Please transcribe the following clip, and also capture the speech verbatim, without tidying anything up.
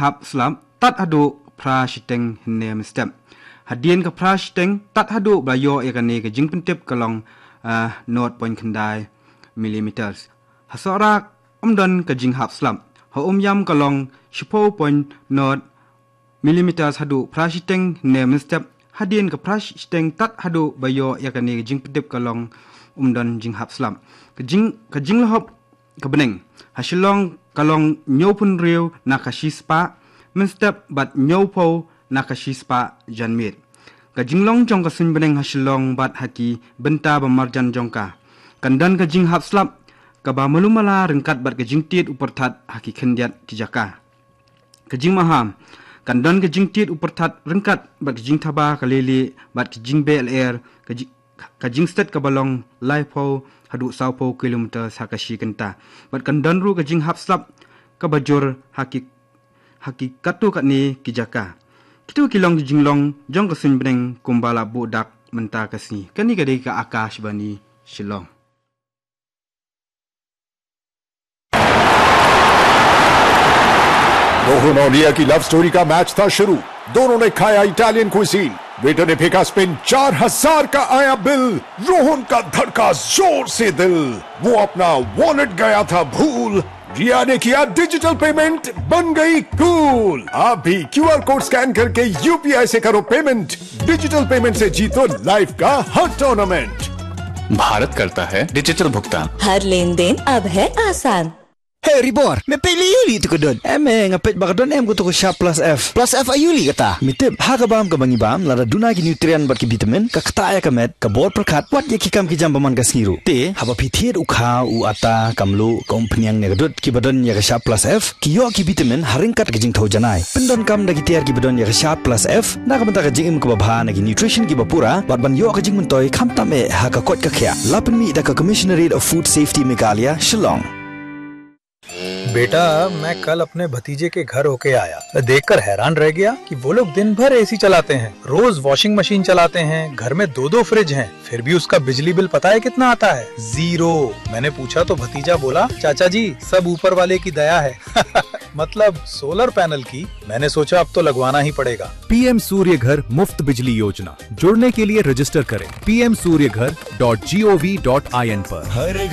hap slap tad haduh phra shiteng hynne mynstep. Hadien ka phra shiteng tad haduh ba ïoh ïa kane ka jingpyntip ka long, ah, nought point khyndai millimeters. Ha Sohra ym don ka jinghap slap. Ha Umiam ka long shiphew point nought millimeters haduh phra shiteng hynne mynstep. Hadien ka phra shiteng tad haduh ba ïoh ïa kane ka jingpyntip ka long ym don jinghap slap. Ka jing, ka jinglehop ka bneng ha Shillong ka long hynñiewphew hynriew na ka shispah mynstep bad hynñiewphew na ka shispah janmiet. Ka jinglong jong ka suiñ bneng ha Shillong bad ha ki bynta ba marjan jong ka, kan don ka jinghap slap kaba malu mala ryngkat bad ka jingtied u pyrthat ha ki khyndiat ki jaka. Ka jingmaham, kan don ka jingtied u pyrthat ryngkat bad ka jingthaba ka leilieh bad ka jingbeh lyer, ka ji-, ka jingstet kaba long laiphew haduh sawphew kilometer ha ka shi kynta. Bad kan don ruh ka jinghap slap kaba jur ha ki, ha ki katto katne ki jaka. Kito ki long ki jinglong jong ka suiñ bneng kumba la buh dak mynta ka sngi. Kane ka dei ka Akashvani Shillong. Rohan और रिया की love story का मैच था शुरू। दोनों ने खाया Italian cuisine. Waiter ने फेंका स्पिन, चार हजार का आया बिल। रोहन का धड़का जोर से दिल, वो अपना वॉलेट गया था भूल। रिया ने किया डिजिटल पेमेंट, बन गई कूल। आप भी क्यूआर कोड स्कैन करके यूपीआई से करो पेमेंट। डिजिटल पेमेंट से जीतो लाइफ का हर टूर्नामेंट। भारत करता है डिजिटल भुगतान। हर लेन देन अब है आसान। Hey Ribor, me peit lei aïu lei tu ka don? Em eh, nga peit ba ka don em ka tu ka Sharp Plus F. Plus F aïu lei kata? Me tip, ha ka bam kaba ngi bam, lada duna ki nutrient bad ki vitamin, ka ktah ïa ka met, ka bor pyrkhat, wat ïa ki kam ki jam ba man ka sngi ruh. Te, haba phi thied u kha, u atta, ka mluh, ka umphniang ne ka dud, kiba don ïa ka Sharp Plus F, ki ïoh ki vitamin ha ryngkat ka jingthew janai. Pyndonkam da ki tiar kiba don ïa ka Sharp Plus F na ka bynta ka jingim kaba bha, na ki nutrition kiba pura, bad ban ïoh ka jingmyntoi khamtam eh ha ka koit ka khiah. La pynmih da ka Commissionerate of Food Safety Meghalaya, Shillong. बेटा, मैं कल अपने भतीजे के घर होके आया। मैं देखकर हैरान रह गया कि वो लोग दिन भर एसी चलाते हैं, रोज वॉशिंग मशीन चलाते हैं, घर में दो दो फ्रिज हैं, फिर भी उसका बिजली बिल पता है कितना आता है? ज़ीरो। मैंने पूछा तो भतीजा बोला, "चाचा जी, सब ऊपर वाले की दया है।" मतलब सोलर पैनल की। मैंने सोचा, अब तो लगवाना ही पड़ेगा। पीएम सूर्य घर मुफ्त बिजली योजना। जुड़ने के लिए रजिस्टर करें P M Surya Ghar dot G O V dot I N पर। हर